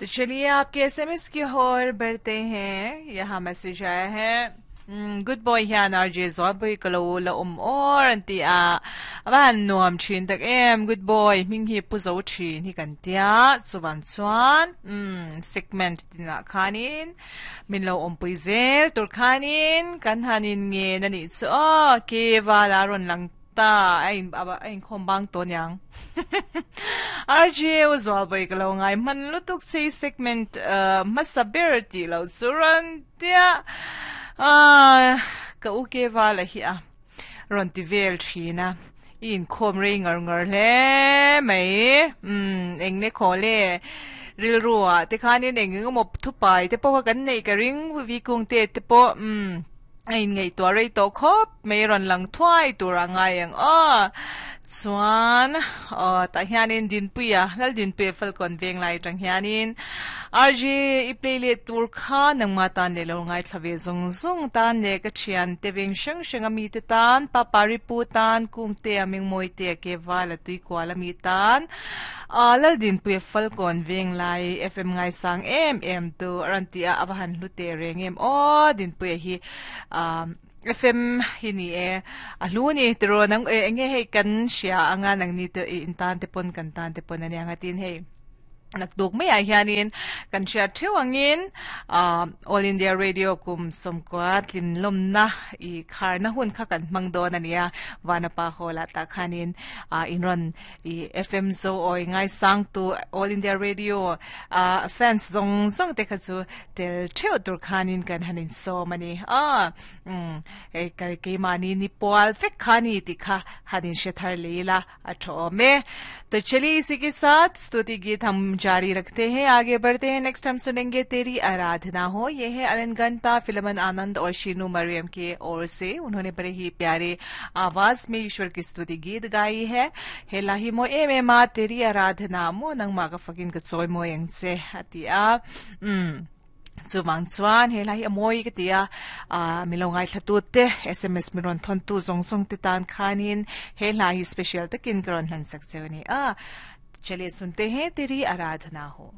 तो चलिए आपके एसएमएस की ओर बढ़ते हैं। यहाँ मैसेज आया है, good boy hian RJ Zualpui ka lo la awm awr an ti a, a va han nuam thin tak em, good boy hming hi pu zo thin hi kan tia, chuvan chuan umm segment tinah khanin min lo awmpui zel tur khanin kan han in ngen a nih chu aw, ke vala rawn lang Ta a in a inkhawm bang tawh niang. RJ u Zualbawi ka lo ngai hman lutuk che i segment hmasa ber tih loh chu rawn tia ka u ke vala hi a rawn ti vel thin a i inkhawm rei ngar ngar hle mai umm eng ne khaw le rilru ah te khanin eng eng emaw thupai te pawh kha kan neih ka ring vikung te te pawh umm A inngaihtuah rei tawh khawp mai rawn lang thuai tur a ngai ang aw. Chuan aw tah hianin Dinpuia, Laldinpuia Falkawn veng lai atang hianin RJ i play leh tur kha nangma tan leh lo ngaithla ve zawng zawng tan leh ka thian te veng hrang hrang a mite tan, Papa Ripu tan, Kungtea Mingmawite ke vala tuikual a mi tan, Aw Laldinpuia Falkawn veng lai FM ngaisang em em tu a rawn ti a, a va han hlu teh reng em aw Dinpuia hi FM hi ni e a hlu ni tiraw nang e enge hei kan hria anga nangni te in tan te pawn kan tan te pawn ania nga tin hei naktuk maiah hianin kan hriat theuh angin All India Radio kum sawmkua tlinlawmna i kharna hun kha kan hmang dawn ania Vanapa Hall ah tah khanin in rawn I FM zo awi ngaisang tu All India Radio a fans zawng zawng te kha chu tel theuh tur khanin kan han insawm a ni a umm hei ka keimahni ni pual vek kha ni tih kha han inhre thar leh ila a tha awm e. To chaliye isi ke saath stuti geet hum jari rakhte hain aage badhte hain next hum sunenge teri aradhna ho ye hai Alan Ganta Philemon Anand aur Sheenu Mariam ke or se unhone bade hi pyare आवाज में ईश्वर की स्तुति गीत गाई है he la hi mawi em em a teri aradhana maw nangmah ka fakin ka chawi mawi ang che a ti a umm chuvang chuan he la hi a mawi ka ti a ah mi lo ngaithla tu te sms mi rawn thawn tu zawng zawng te tan khanin he hla hi special takin ka rawn hlan sak cheu a ni a chale sunte he teri aradhana ho.